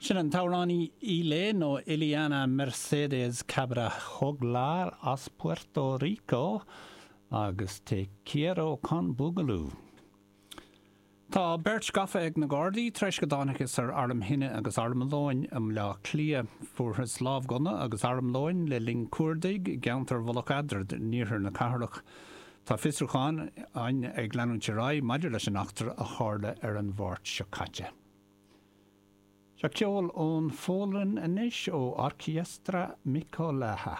Sin an t-amhránaí Ilé nó Iliana Mercedes Cabrera Joglar as Puerto Rico agus Te Quiero Con Boogaloo. Tá beirt gafa ag na Gardaí tar éis go dtángthas ar arm thine agus armlóin i mBleá Cliath. Fuarthas lámhghunna agus armlóin le linn cuardaigh i gceantar Mhullach Eadrad in iarthar na cathrach. Tá fiosrúchán ag leanúint ar aghaidh maidir leis an eachtra a tharla ar an Mháirt seo caite. Seo ceol ón Pholainn anois ó Orkiestra Mikołaja.